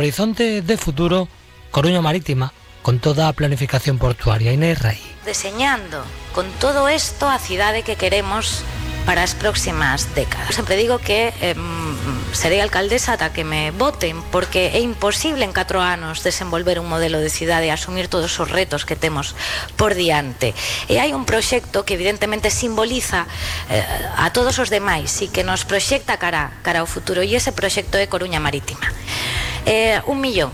Horizonte de futuro, Coruña Marítima, con toda a planificación portuaria. Inés Rey. Deseñando con todo isto a cidade que queremos para as próximas décadas. Sempre digo que serei alcaldesa ata que me voten, porque é imposible en 4 anos desenvolver un modelo de cidade e asumir todos os retos que temos por diante. E hai un proxecto que evidentemente simboliza a todos os demais e que nos proxecta cara ao futuro, e ese proxecto é Coruña Marítima. 1 millón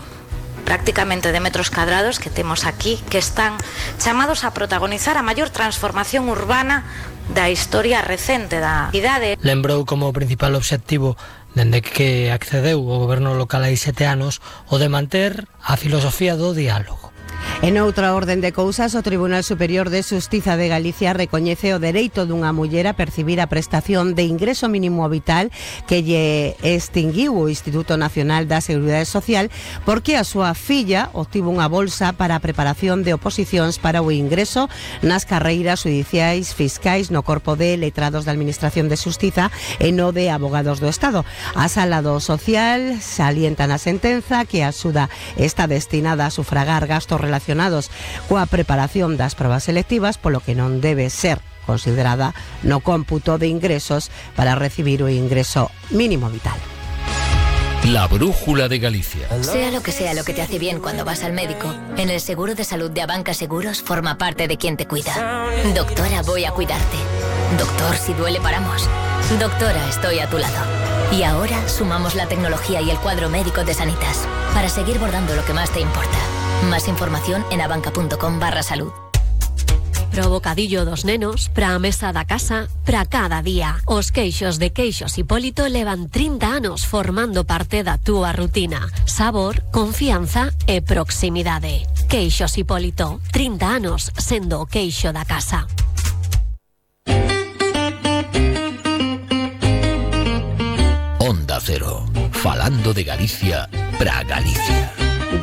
prácticamente de metros cadrados que temos aquí, que están chamados a protagonizar a maior transformación urbana da historia recente da cidade. Lembrou como principal obxectivo dende que accedeu o goberno local hai 7 anos o de manter a filosofía do diálogo. En outra orden de cousas, o Tribunal Superior de Xustiza de Galicia recoñece o dereito dunha muller a percibir a prestación de ingreso mínimo vital que lle extinguiu o Instituto Nacional da Seguridade Social porque a súa filla obtivo unha bolsa para a preparación de oposicións para o ingreso nas carreiras judiciais fiscais no Corpo de Letrados da Administración de Xustiza e no de Abogados do Estado. A Sala do Social salienta na sentenza que a axuda está destinada a sufragar gastos relacionados coa preparación das probas selectivas, polo que non debe ser considerada no cómputo de ingresos para recibir o ingreso mínimo vital. La brújula de Galicia. Sea lo que te hace bien cuando vas al médico, en el seguro de salud de Abanca Seguros forma parte de quien te cuida. Doctora, voy a cuidarte. Doctor, si duele paramos. Doctora, estoy a tu lado. Y ahora sumamos la tecnología y el cuadro médico de Sanitas para seguir bordando lo que más te importa. Más información en abanca.com/salud. Pro bocadillo dos nenos, pra a mesa da casa, pra cada día. Os queixos de Queixos Hipólito levan 30 anos formando parte da túa rutina. Sabor, confianza e proximidade. Queixos Hipólito, 30 anos sendo o queixo da casa. Onda Cero, falando de Galicia pra Galicia.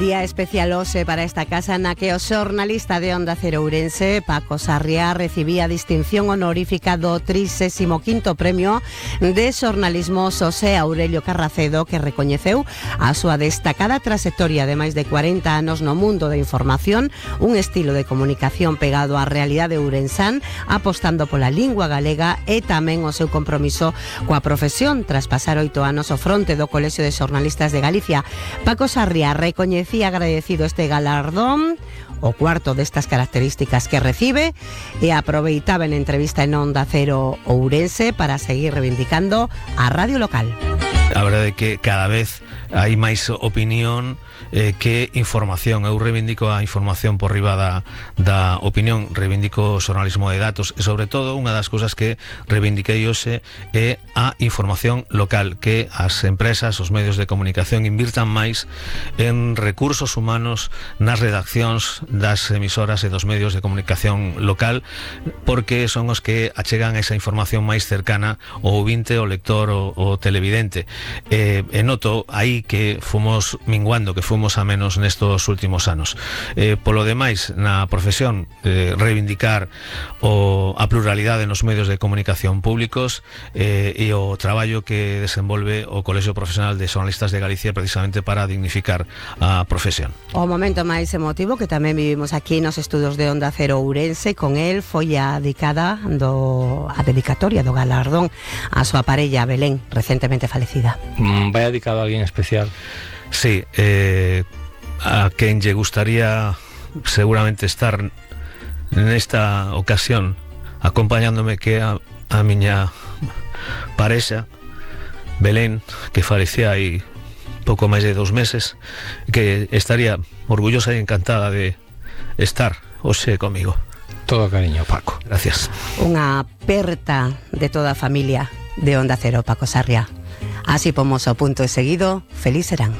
Día especial hoxe para esta casa na que o xornalista de Onda Cero Ourense, Paco Sarriá, recibía a distinción honorífica do 35º Premio de Xornalismo Xosé Aurelio Carracedo, que recoñeceu a súa destacada trayectoria de máis de 40 anos no mundo da información, un estilo de comunicación pegado á realidade ourensán, apostando pola lingua galega e tamén o seu compromiso coa profesión tras pasar 8 anos ao fronte do Colexio de Xornalistas de Galicia. Paco Sarriá recoñecía agradecido este galardón, o cuarto destas características que recibe, e aproveitaba en entrevista en Onda Cero Ourense para seguir reivindicando a radio local. A verdade é que cada vez hai máis opinión que información. Eu reivindico a información por riba da opinión, reivindico o xornalismo de datos e, sobre todo, unha das cousas que reivindiquei hoxe é a información local, que as empresas, os medios de comunicación invirtan máis en recursos humanos nas redaccións das emisoras e dos medios de comunicación local, porque son os que achegan esa información máis cercana ao ouvinte, ao lector, ao televidente. E noto aí que fomos minguando, que fomos a menos nestos últimos anos. Polo demais, na profesión, reivindicar a pluralidade nos medios de comunicación públicos e o traballo que desenvolve o Colexio Profesional de Xornalistas de Galicia precisamente para dignificar a profesión. O momento máis emotivo que tamén vivimos aquí nos estudos de Onda Cero Ourense, con el foi a dedicatoria do galardón a súa parella Belén, recentemente falecida. Vai dedicado a alguén especial? Sí, a quen lle gustaría seguramente estar nesta ocasión acompañándome, que a miña parexa Belén, que falecía hai pouco máis de 2 meses, que estaría orgullosa e encantada de estar hoxe comigo. Todo cariño, Paco. Gracias. Unha aperta de toda a familia de Onda Cero, Paco Sarriá. Así pomos o punto e seguido. Feliz serán.